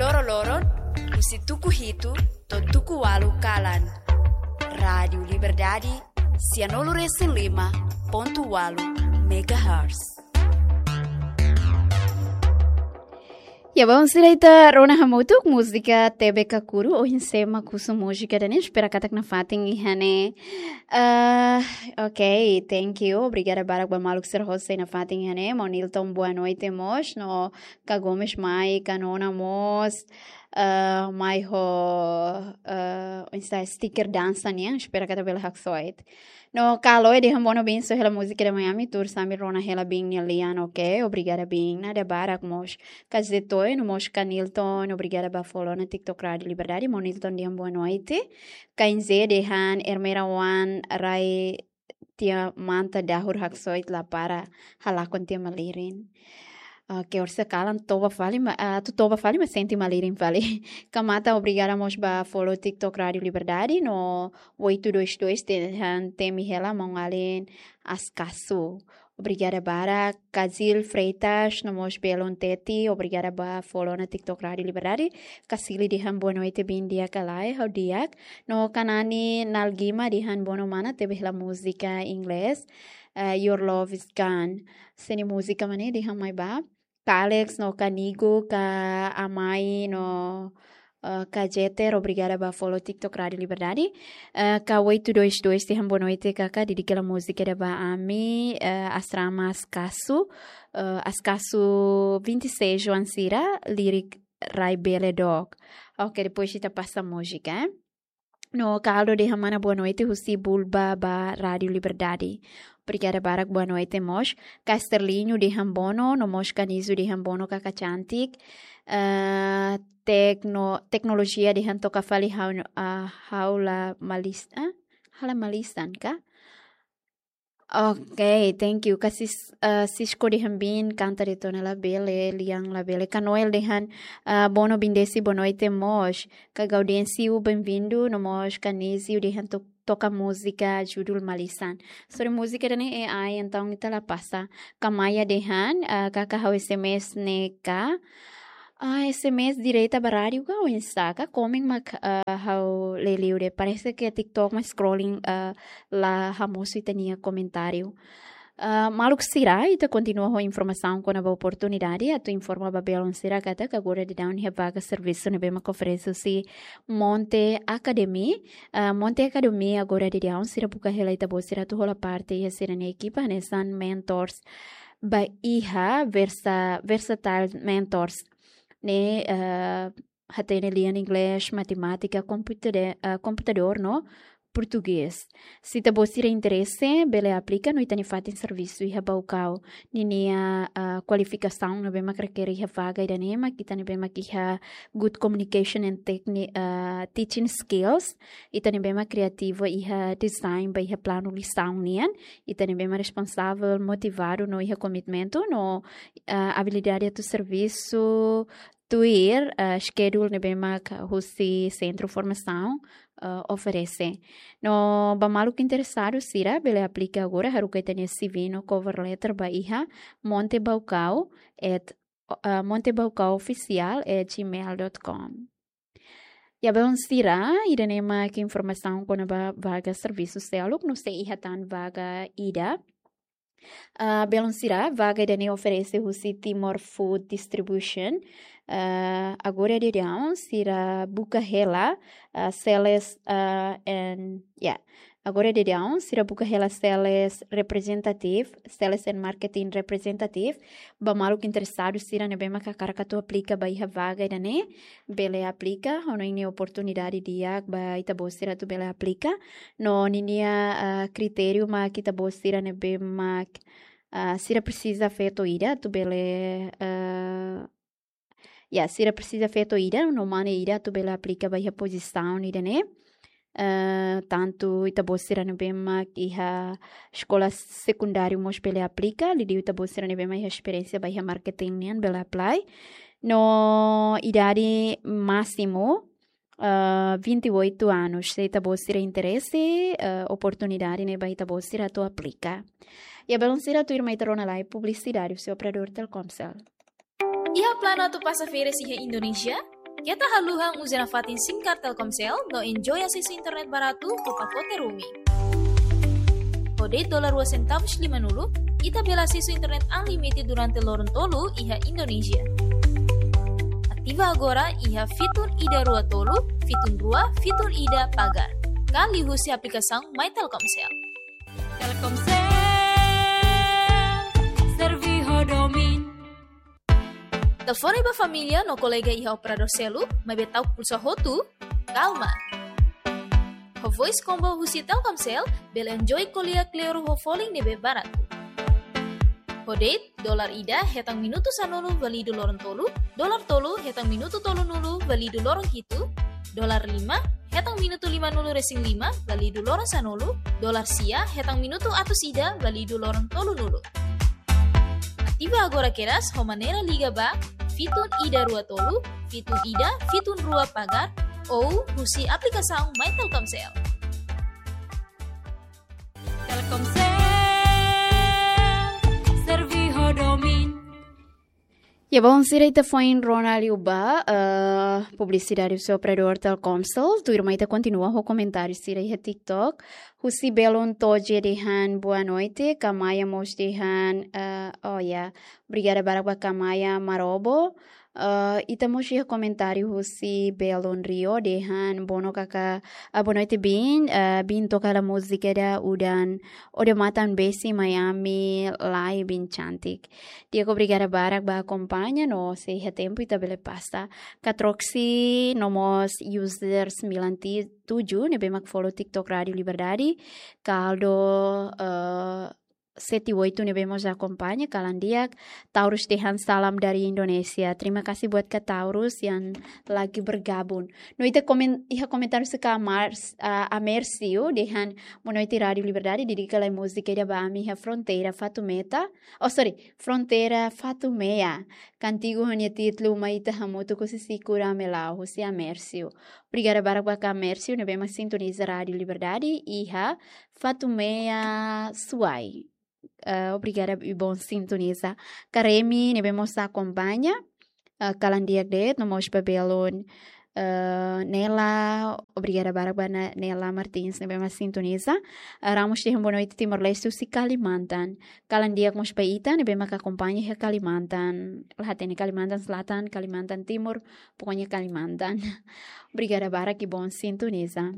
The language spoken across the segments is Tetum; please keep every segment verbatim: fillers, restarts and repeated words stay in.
Loroloron, husi tuku hitu to'o tuku ualu kalan. Rádiu Liberdade, sianulu resin lima pontu ualu megahertz. Ya, bom, sira ita rona hamutuk múzika T B Kakuru, ohin sé mak husu múzika ida-ne'e, espera katak nafatin iha ne'e. Ah, ok, thank you. Obrigada barak ba maluk sira hotu sei nafatin iha ne'e. Maun Nilton, boa noite mós. No Ka Gomes mai, Ka Nona mós, ah, mai ho, ah, oinsá sticker dansa nian, espera katak bele haksoit. No Kalo, dehan bono bin husu hela múzika ida Miami, tuur sambil rona hela bin nia lian, ok? Obrigada bin, nada barak mós. Ka Zetoi, no mós Ka Nilton, obrigada ba follow ona TikTok Rádiu Liberdade, maun Nilton dehan boa noite. Ka Inze dehan Ermera Wan, rai tiha manta dahur haksoit la para halakon tiha malirin. Ah, ke orse kalan toba fali ma, ah, atu toba fali ma sente malirin fali. Ka Mata, obrigada mós ba follow TikTok Rádiu Liberdade no oito dois dois dehan temi hela maun-alin Askasu. Obrigada barak. Ka Zil Freitas no mós Belun Teti, obrigada ba follow ona TikTok Rádiu Liberdade. Ka Sili dehan boa noite bin di'ak ka lae, ha'u di'ak. No Ka Nani Nalgima dehan bono mana tebe hela múzika inglés, eh, Your Love Is Gone. Sé nia múzika mak ne'e dehan mai ba. Ka Alex no Ka Nigo, Ka Amai no, eh, Ka Jeter, obrigada ba follow TikTok Rádiu Liberdade. Eh, Ka oito dois dois dehan boa noite kaka, dedika hela múzika ida ba ami, eh, Asrama Askasu, eh, Askasu vinte e seis oan sira, lirik Rai Bele Dok. Ok, depois ita pasa múzika, eh. No Ka Aldo dehan mana boa noite husi Bulba ba Rádiu Liberdade. Obrigada barak, boa noite mós. Ka Sterlinho dehan bono, no mós Ka Nizu dehan bono kaka cantik. Eh, tekno-, teknolojia dehan toka fali ha'u, ah, ha'u la malis-, ah, ha'u la malisan ka? Ok, thank you. Ka Sis-, eh, Cisco dehan bin kanta de'it ona labele, lian labele. Ka Noel dehan, eh, bono bin Desi, boa noite mós. Ka Gaudêncio, bem-vindo, no mós Ka Nézio dehan to-, toka múzika judul Malisan. Sorry, múzika ida-ne'e A I, entaun ita la pasa. Ka Maia dehan, eh, kaka ha'u S M S ne'e ka. Ah, S M S direta ba rádiu ka oinsá ka? Komen mak, ah, ha'u leliu de'it. Parese ke TikTok mak scrolling, ah, la hamosu ita-nia komentáriu. Ah, maluk sira, ita kontinua ho informasaun kona-ba oportunidade, atu informa ba belun sira katak agora daudaun iha vaga servisu ne'ebé mak oferese husi Monte Academy. Ah, Monte Academy agora daudaun sira buka hela ita-boot sira atu hola parte iha sira-nia ekipa, hanesan mentors ba iha Versa-, Versatile Mentors ne'e, eh, hatene lian inglés, matemátika, komputade-, eh, komputadór no portugés. Se ita-boot sira interese, bele aplika no ita-nia fatin servisu iha Baucau. Ninia, eh, kualifikasaun ne'ebé mak rekere iha vaga ida-ne'e mak ita ne'ebé mak iha good communication and techni-, eh, teaching skills. Ita ne'ebé mak kriativu iha design ba iha planu lisaun nian. Ita ne'ebé mak responsavel, motivadu no iha komitmentu no, eh, abilidade atu servisu tuir, eh, schedule ne'ebé mak husi sentru formasaun, eh, oferese. No ba maluk interesadu sira bele aplika agora, haruka ita-nia C V no cover letter ba iha montebaucau at, eh, montebaucauoficial at gmail dot com. Ya, belun sira, ida-ne'e mak informasaun kona-ba vaga servisu seluk, no sei iha tan vaga ida. Ah, belun sira, vaga ida-ne'e oferese husi Timor Food Distribution. Ah, agora daudaun sira buka hela, ah, sales, ah, and, ya. Agora daudaun sira buka hela sales representative, sales and marketing representative. Ba maluk interesadu sira ne'ebé mak hakarak atu aplika ba iha vaga ida-ne'e, bele aplika, ha'u hanoin ne'e oportunidade di'ak ba ita-boot sira atu bele aplika. No ninia, ah, kritériu mak ita-boot sira ne'ebé mak, ah, sira presiza feto ida atu bele, ah, ya, sira presiza feto ida, no mane ida atu bele aplika ba iha pozisaun ida-ne'e. Eh, tantu ita-boot sira ne'ebé mak iha eskola sekundáriu mós bele aplika, liuliu ita-boot sira ne'ebé mak iha esperiénsia ba iha marketing nian bele apply. No idade másimu, eh, vinte e oito anos. Se ita-boot sira interese, eh, oportunidade ne'e ba ita-boot sira atu aplika. Ya, belun sira, tuirmai ita rona lai publisidade husi operadór Telkomsel. Iha planu atu pasa férias iha Indonézia? Keta haluha uza nafatin SIM card Telkomsel no enjoy asesu internet baratu ho pakote roaming. Ho de'it dolar rua sentavus limanulu, ita bele asesu internet unlimited durante loron tolu iha Indonesia. Ativa agora iha fitun ida rua tolu, fitun rua, fitun ida pagar. Ka liuhusi aplikasaun My Telkomsel. Telkomsel, servi ho domin. Telefone ba família no kolega iha operadór seluk, maibé ta'uk pulsa hotu, kalma. Ho voice combo husi Telkomsel, bele enjoy ko'alia kleur ho folin ne'ebé baratu. Ho de'it, dolar ida hetan minutu sanulu válidu loron tolu, dolar tolu hetan minutu tolunulu válidu loron hitu, dolar lima hetan minutu limanulu resin lima válidu loron sanulu, dolar sia hetan minutu atus ida válidu loron tolunulu. Ativa agora kedas ho maneira liga ba fitun ida rua tolu, fitun ida, fitun rua pagar, ou husi aplikasaun My Telkomsel. Telkomsel, servi ho domin. Ya, bom, sira ita foin rona liu ba, eh, publisidade husi operadór Telkomsel. Tuirmai ita kontinua ho komentáriu sira iha TikTok. Husi Belun Toje dehan boa noite, Kamaya mós dehan, eh, oh ya, obrigada barak ba Kamaya Marobo. Eh, ita mós iha komentáriu husi Belun Rio dehan boa no kaka, ah, boa noite Bin, eh, Bin toka hela múzika ida udan, Odamatan Besi Miami, lai Bin cantik. Di'ak, obrigada barak ba akompaña no se iha tempu ita bele pasa. Katroksi no mós user sembilan tujuh ne'ebé mak follow TikTok Rádio Liberdade. Kaldo, eh, sete oito ne'ebé mós akompaña, kalan di'ak. Taurus dehan salam dari Indonesia. Terima kasih buat Kak Taurus yang lagi bergabung. No ita komen, iha komentáriu husi Kak Mars, ah, Amercio dehan boa noite Rádio Liberdade, dedika lai múzika ida ba ami iha Fronteira Fatumeta. Oh, sorry, Fronteira Fatumea. Kantigu ho nia títulu Mai Ita Hamutuk husi Siku Ramelau, husi Amercio. Obrigada barak ba Kak Amercio ne'ebé mak sintoniza Rádio Liberdade iha Fatumea, Suai. Eh, obrigada i bom sintoniza. Karemi ne'ebé mós akompaña. Eh, kalan di'ak de'it, no mós ba belun. Eh, Nela, obrigada barak ba Na-, Nela Martins ne'ebé mak sintoniza. Eh, Ramos dehan boa noite Timor-Leste husi Kalimantan. Kalan di'ak mós ba ita ne'ebé mak akompaña iha Kalimantan. La hatene Kalimantan Selatan, Kalimantan Timur, pokoknya Kalimantan. Obrigada barak i bom sintoniza.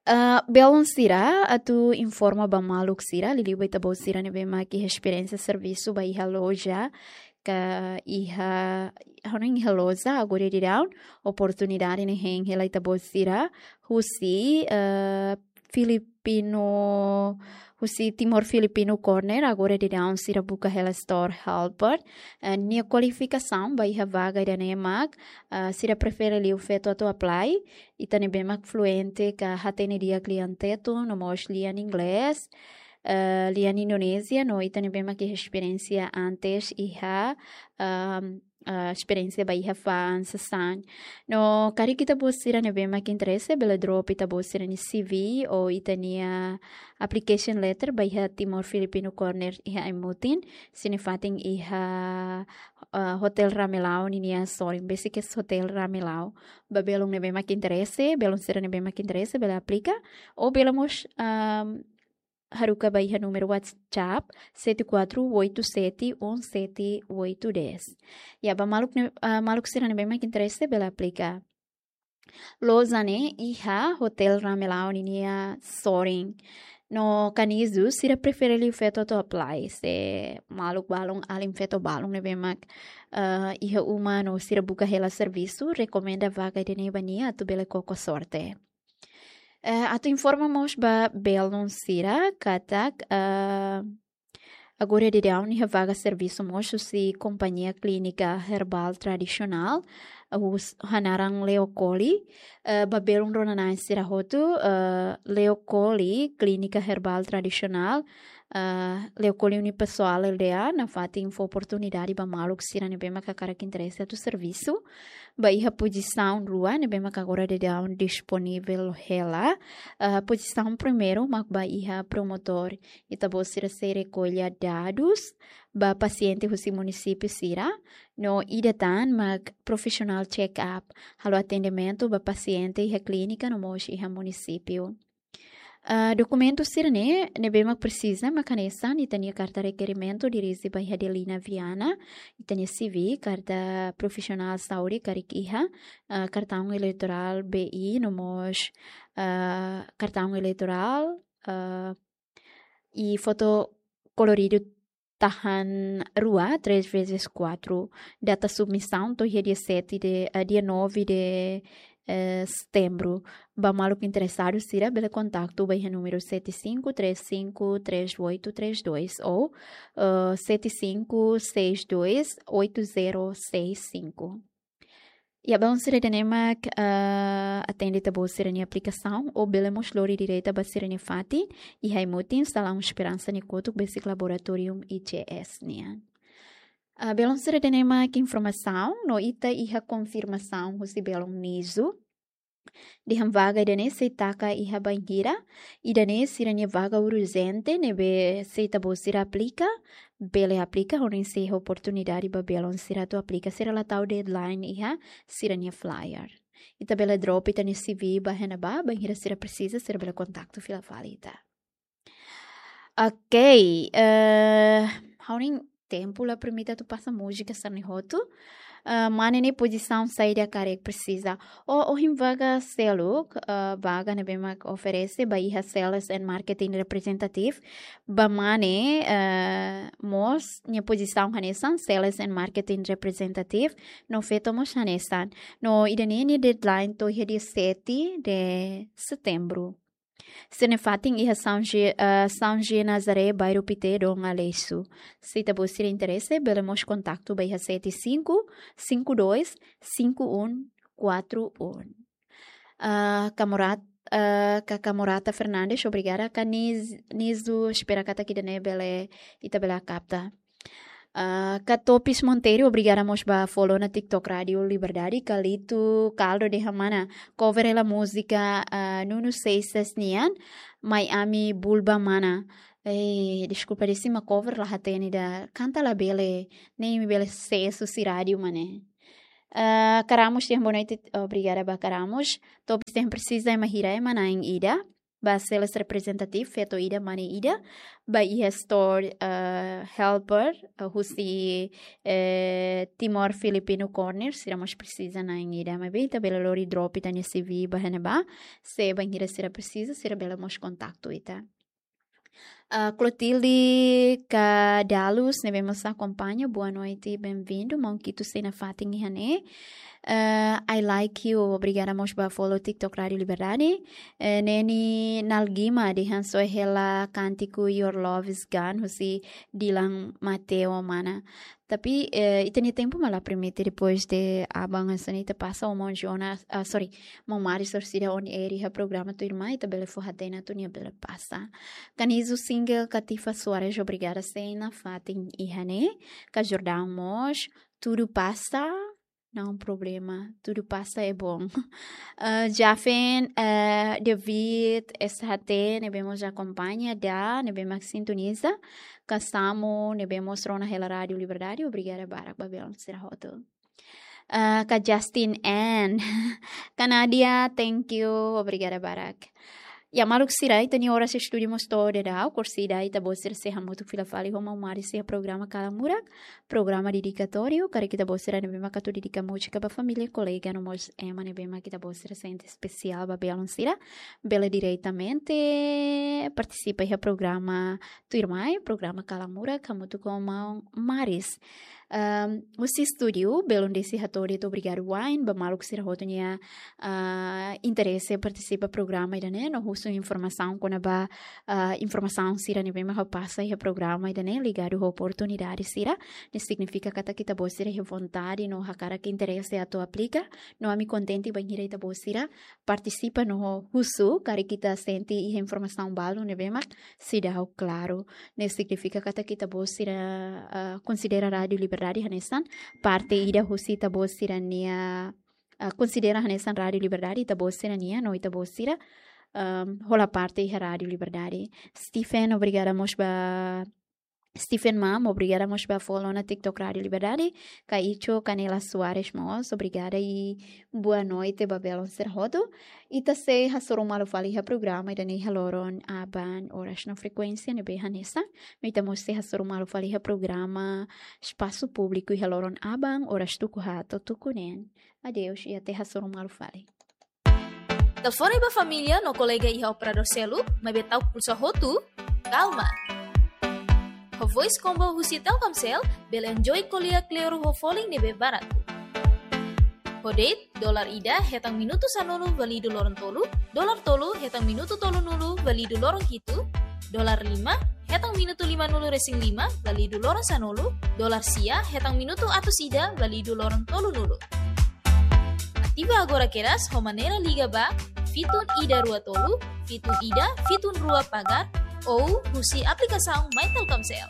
Ah, belun sira, atu informa ba maluk sira, liuliu ba ita-boot sira ne'ebé mak iha esperiénsia servisu ba iha loja, ka iha, hanoin iha loja, agora daudaun, oportunidade ne'e hein hela ita-boot sira, husi, eh, Filipino, husi Timor Filipino Corner, agora daudaun sira buka hela store helper. Eh, nia kualifikasaun ba iha vaga ida-ne'e mak, eh, sira prefere liu feto atu apply, ita ne'ebé mak fluente ka hatene di'ak lian Tetun, no mós lian Inglés, eh, lian Indonézia, no ita ne'ebé mak iha esperiénsia antes iha, ehm, eh, esperiénsia ba iha fa'an sasán. No karik ita-boot sira ne'ebé mak interese, bele drop ita-boot sira-nia C V ou ita-nia application letter ba iha Timor Filipino Corner iha Aimutin, sira-nia fatin iha, eh, Hotel Ramelau ninia sorin, besik iha Hotel Ramelau. Ba belun ne'ebé mak interese, belun sira ne'ebé mak interese, bele aplika, ou bele mós, ehm, haruka ba iha númeru WhatsApp sete quatro oito sete um sete oito dez. Ya, ba maluk ne'e, ah, maluk sira ne'ebé mak interese bele aplika. Loja ne'e iha Hotel Ramelau ninia sorin. No kanizu sira prefere liu feto atu apply. Se maluk balun, alin feto balun ne'ebé mak, ah, iha uma no sira buka hela servisu, rekomenda vaga ida-ne'e ba nia atu bele koko sorte. Eh, atu informa mós ba belun sira katak, eh, agora daudaun iha vaga servisu mós husi kompañia klínika herbál tradisionál, eh, hus-, ho naran Leokoli, eh, ba belun rona-na'in sira hotu, eh, Leokoli klínika herbál tradisionál, eh, Leokoli Unipessoal L D A, nafatin fó oportunidade ba maluk sira ne'ebé mak hakarak interese atu servisu. Ba iha pozisaun rua ne'ebé mak agora daudaun disponivel hela. Eh, pozisaun primeiru mak ba iha promotór. Ita-boot sira sei rekolla dadus, ba pasiente husi munisípiu sira, no ida tan mak professional check-up, halo atendimentu ba pasiente iha klínika no mós iha munisípiu. Ah, dokumentu sira-ne'e ne'ebé mak presiza mak hanesan ita-nia karta rekerimentu dirije ba iha Adelina Viana, ita-nia C V, karta profesionál saúde karik iha, ah, kartaun eleitorál B I no mós, ah, kartaun eleitorál, ah, i foto koloridu tahan rua, três vezes quatro. Data submisaun to'o iha dia sete de, eh, dia nove de, eh, setembru. Ba maluk interesadu sira bele kontaktu ba iha númeru sete cinco três cinco três oito três dois ou, eh, sete cinco seis dois oito zero seis cinco. Iha balun sira ida-ne'e mak, ah, atende ita-boot sira-nia aplikasaun, ou bele mós lori direta ba sira-nia fatin, iha Aimutin, Salaun Esperansa nia kotuk besik Laboratorium I G S nian. Ah, balun sira ida-ne'e mak informasaun, no ita iha konfirmasaun husi balun Nizu. Dehan vaga ida-ne'e sei taka iha bainhira, ida-ne'e sira-nia vaga urjente, ne'ebé se ita-boot sira aplika, bele aplika, hodi sei iha oportunidade ba balun sira atu aplika, sira la tau deadline iha sira-nia flyer. Ita bele drop ita-nia C V ba iha ne'ebá, bainhira sira presiza, sira bele kontaktu fila fali ita. Ok, eh, ha'u-nia tempu la permite atu pasa múzika sira-ne'e hotu. Eh, mane ne'e pozisaun saida karik presiza. Ou, ohin vaga seluk, eh, vaga ne'ebé mak oferese ba iha Sales and Marketing Representative. Ba mane, eh, mós nia pozisaun hanesan Sales and Marketing Representative. No feto mós hanesan. No ida-ne'e nia deadline to'o iha dia sete de setembru. Sira-nia fatin iha São Gi-, eh, São Gi Nazaré, bairru Pité, Dom Aleixo. Se ita-boot sira interese, bele mós kontaktu ba iha sete cinco cinco dois cinco um quatro um. Ah, Kamorat-, ah, Kaka Morata Fernandes, obrigada. Kaka Niz-, Nizu, espera katak ida-ne'e bele, ita bele kapta. Ah, Kaka Topis Monteiro, obrigada mós ba follow ona TikTok Rádio Liberdade. Kalito Caldo dehan mana, cover hela múzika, ah, Nuno Seixas nian, Mai Ami Bulba Mana. Eh, deskulpa, de'it mak cover la hatene ida, kanta labele, ne'e imi bele sesu husi rádiu mak ne'e. Ah, Kaka Ramos dehan boa noite, obrigada ba Kaka Ramos. Topis dehan presiza ema hira, ema na'in ida. Ba sales representative, feto ida, mane ida. Ba iha store, eh, helper, eh, husi, eh, Timor Filipino Corner, sira mós presiza na'in ida. Maibé ita bele lori drop ita-nia C V ba iha ne'ebá. Se bainhira sira presiza, sira bele mós kontaktu ita. Ah, Clotilde Cadalus, ne'ebé mós akompaña, boa noite, bem-vindo, maun Kitu sei nafatin iha ne'e. Ah, I like you, obrigada mós ba follow TikTok Rádio Liberdade. Eh, Neni Nalgima dehan só hela kántiku Your Love Is Gone, husi Dylan Mateo mana. Tapi, eh, ita-nia tempu mak la permite, depois de aban hanesan ne'e ita pasa ho maun Jonas, ah, sorry, maun Maris orsida on air iha programa tuirmai, ita bele fó hatene atu nia bele pasa. Kaka Nizu Single, Katifa Soares, obrigada sei nafatin iha ne'e. Kaka Jordão mós, tudo passa, não problema, tudo passa é bom. Ah, Jafen, eh, David, S H T, ne'ebé mós akompaña, Da, ne'ebé mak sintoniza. Kaka Samu, ne'ebé mós rona hela Rádio Liberdade, obrigada barak ba balun sira hotu. Ah, Kaka Justin N. Kaka Nadia, thank you, obrigada barak. Ya, maluk sira, ita-nia oras estúdiu mós to'o daudaun, orsida ita-boot sira sei hamutuk fila fali ho maun Maris iha programa Kala Murak, programa dedikatóriu, karik ita-boot sira ne'ebé mak atu dedika múzika ba família, kolega, no mós ema ne'ebé mak ita-boot sira sente espesiál ba balun sira, bele diretamente partisipa iha programa tuirmai, programa Kala Murak, hamutuk ho maun Maris. Ahm, husi estúdiu, belun desi hato'o de'it obrigadu wa'in ba maluk sira hotu nia, ah, interese partisipa programa ida-ne'e, no husu informasaun kona-ba, ah, informasaun sira ne'ebé mak ha'u pasa iha programa ida-ne'e, ligadu ho oportunidade sira, ne'e signifika katak ita-boot sira iha vontade no hakarak, interese atu aplika, no ami kontente bainhira ita-boot sira partisipa no husu, karik ita sente iha informasaun balu ne'ebé mak seidauk klaru. Ne'e signifika katak ita-boot sira, ah, konsidera Rádio Liberdade hanesan parte ida husi ita-boot sira-nia, ah, konsidera hanesan Rádio Liberdade ita-boot sira-nian, no ita-boot sira, ahm, hola parte iha Rádio Liberdade. Stephen, obrigada mós ba Stephen Mam, obrigada mós ba follow ona TikTok Rádio Liberdade. Kaicho Canela Soares mós, obrigada i boa noite ba belun sira hotu. Ita sei hasoru malu fali iha programa ida-ne'e iha loron aban oras no frekuénsia ne'ebé hanesan. No ita mós sei hasoru malu fali iha programa Espasu Públiku iha loron aban oras tuku haat to'o tuku neen. Adeus i até hasoru malu fali. Telefone ba família no kolega iha operadór seluk, maibé ta'uk pulsa hotu, kalma. Ho Voice Combo husi Telkomsel, bele enjoy ko'alia kleur ho folin ne'ebé baratu. Ho date, dolar ida hetan minutu sanulu validu loron tolu, dolar tolu hetan minutu tolunulu validu loron hitu, dolar lima hetan minutu limanulu resin lima validu loron sanulu, dolar sia hetan minutu atus ida validu loron tolunulu. Ativa agora kedas ho maneira liga ba fitun ida rua tolu, fitun ida, fitun rua pagar, ou husi aplikasaun My Telkomsel.